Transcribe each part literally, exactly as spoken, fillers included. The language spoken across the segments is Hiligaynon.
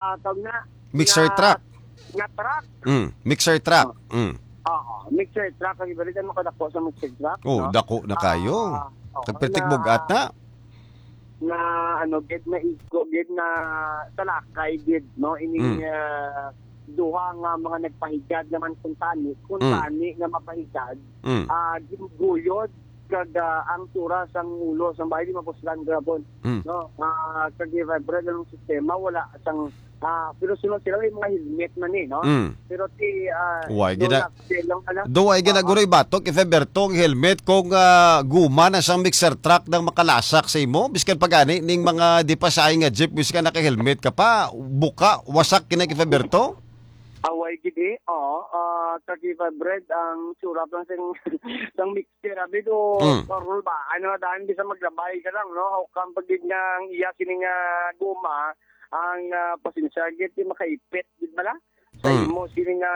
ah, tawag na, Mixer na, truck. na truck. Mm, mixer truck. Mm. Oo, mixer truck. Ang ibalit, ano kadako sa mixer truck, Oh, no? dako na kayo. Ah, oo, Pertik na, bugat na. na, ano, gid na igo, gid na talakay, gid, no? Ining, Mm. ah, duha nga mga nagpahigad naman kung tani, kung Mm. tani nga mapahigad, Mm. ah, ginuguyod kag, ah, ang tura sang ulo sang bahay di mapuslan gabon. Mm. No, ah, kag vibrate ang sistema, wala sang, ah, pero sila, sila may mga helmet man eh, no? Mm. Pero ti, ah, Why no gina-, luck, sila lang, ano? do why Oo. ginaguroy batok if ever tong helmet kung, ah, guma na sang mixer truck nang makalasak sa imo? Biskan pa gani ning mga di pa saay nga jeep, biskan naka-helmet ka pa, buka, wasak kina if ever to? Away gid eh. Oo, ah, kag vibrate ang surap lang sing, sang mixer, abi do, Mm. parol ba? Ano, daan bisa maglabay ka lang, no? Hawkan pag gid nga ang iya sini nga guma, ang, ah, pasensya gid, di makaipit, di ba la? Sa Mm. imo sini nga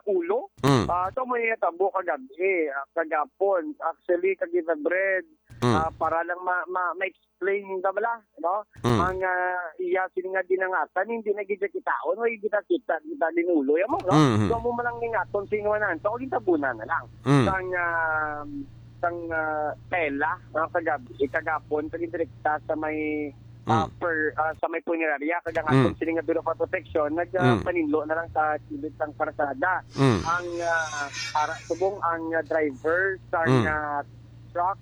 ulo. Mm. Ah, so, mo yung tabo kagabi, ah, kagapon. Actually, kag vibrate, Mm. ah, para lang ma-, ma-, ma-explain ta bala, no? Mm. Ang, ah, iya sini nga dinangatan, hindi na gid siya kitaon, o kita kita, kita din ulo, ya mo, no? Mm, mm. So, mo man lang ningaton, sino na, so, gitabunan na lang. Mm. Sang, ah, sang, ah, tela, no? Kagabi, kagapon, kag direkta sa may, ah, Mm. per, ah, sa may punerarya, kag ang Mm. aton sini nga Bureau of Protection, nag, ah, Mm. paninlo na lang sa kilid sang karsada. Mm. Ang, ah, para, subong ang, ah, driver sang, Mm. ah, truck,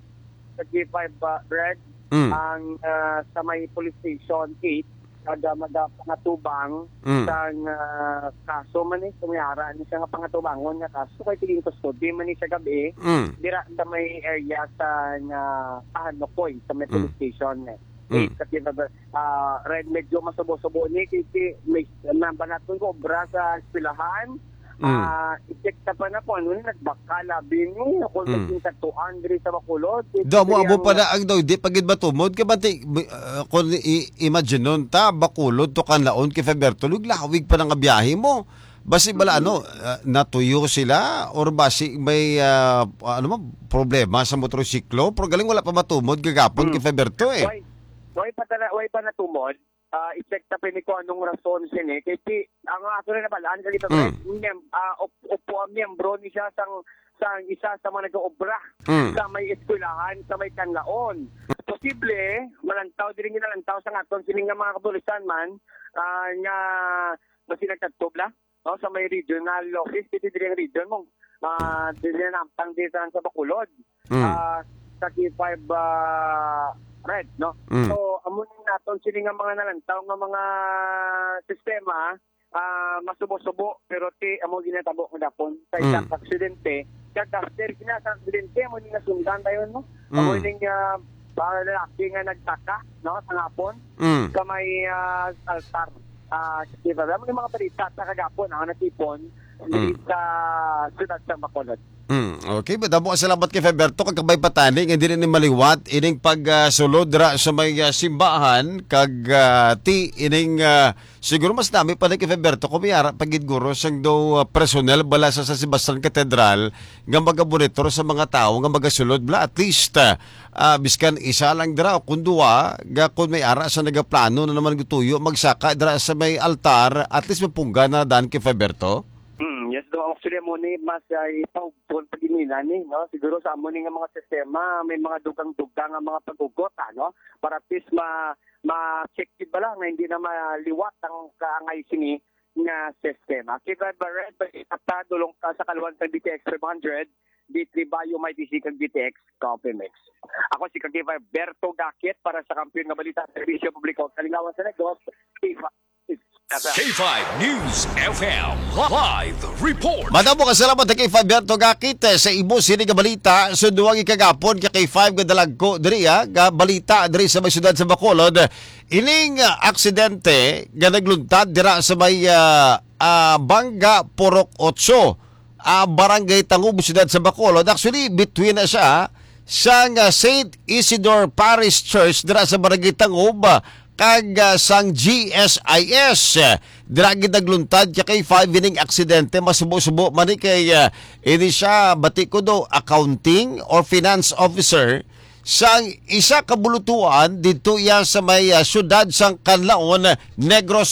sa G five, ah, Brad, Mm. ang, ah, sa may police station eight, kada magapangatubang Mm. sang, ah, kaso man eh, kung may ara ni siya nga pangatubangon nga kaso, kay tigin custody man ni siya gabi, Mm. dira sa may area sa nga Pahanukoy, sa may Mm. police station eh. Mm. Eight, sa Quezon, ah, Red, medyo masubo-subo ni, kay, kay may, nabalaton ko obra sa eskwelahan, Mm. Ah, i-check ta pa na kung ano ni nagbakal, abi ni, kung Mm. may katuan diri sa Bacolod. Do mo, amo Kaya pa na ang daw, di pa gid matumod. Kay bati, ah, kung i-, imagine nun ta, Bacolod to Kanlaon, kay Faberto, lawig pa na nga biyahe mo. Basi bala, Mm. ano, ah, natuyo sila, or basi may, ah, ano mo, problema sa motorsiklo? Pero galing wala pa matumod, gagapon, Mm. kay Faberto, eh. Why? Why pa tala-, why pa natumod? Ah, i-check ta pini kung anong rason sini. Kay ti, ang ato na nabalaan, kag ito, Mm. mem-, ah, op-, upo ang miyembro ni siya sang, sang isa sa mga nag-oobra Mm. sa may eskwelahan, sa may Kanlaon. Posible, malantaw, diri nga nalantaw sa aton, sini nga mga kapulisan man, ah, nga basi nagkadto bala, no, sa may regional office, dito diri ang region mo. Ah, diri na nampang dito sa Bacolod. Mm. Ah, sa K five, ah, Red, no? Mm. So, amo ni naton sini nga mga nalantaw nga mga sistema, ah, masubo-subo, pero ti, amo ginatabo nga dapon. Sa Mm. isang aksidente, kag after gina sa aksidente, amo ni nasundan tayo, no? Amo Mm. ning, ah, mga lalaki nga nagtaka, no, sa hapon, Mm. sa may, ah, altar. Ah, di ba? Amo ni mga balita sa kagapon, ang natipon, Mm. sa siyudad sa Bacolod. Mm, okay, madamo nga salamat kay Faberto, kag kabay patani nga dili ni maliwat ining pag, ah, sulod ra sa may, ah, simbahan, kag, ah, ti ining, ah, siguro mas nami pa ni kay Faberto kung may ara pa gid guro sang do, ah, personnel bala sa San Sebastian Cathedral nga magamonitor sa mga tawo nga magasulod bala, at least, ah, ah, biskan isa lang dira o kun duwa, nga kun may ara sa nagaplano na naman gutuyo magsaka dira sa may altar, at least mapungga na dan kay Faberto. Hmm, yes, do. Actually, amo ni mas, ah, ipahugpon pa gid nila ni, no? Siguro sa amo ni nga mga sistema, may mga dugang-dugang nga mga pag-ugot, ano? Para at least ma-, ma-check gid bala nga hindi na maliwat ang kaangay sini nga sistema. Kay Red Barret, balita ta, dulong ka sa kaluan sa B T X five hundred, D three Bayo, may D C kag B T X Coffee Mix. Ako si Kagiver Berto Gakit para sa Kampiyon nga Balita, Serbisyo Publiko, Kalingawan sa Negros, K five News F M live report. Madamo nga salamat kay K five Berto Gakit, eh, sa imo sini nga balita. Sa duwang ikagapon ka K five nga dalagko diri, ah, nga balita diri sa may siyudad sa Bacolod. Ining, ah, aksidente nga nagluntad dira sa may, ah, ah, Banga Purok Otso, ah, Barangay Tangub, siyudad sa Bacolod. Actually, between na siya sang, ah, Saint Isidore Parish Church dira sa Barangay Tangub, ah, kag, ah, sang G S I S. Dira gid nagluntad ka K five ining aksidente. Masubo-subo man ni kay, ah, ini siya, bati ko do, accounting or finance officer sang isa ka bulutuan didto iya sa may, ah, siyudad sang Canlaon, Negros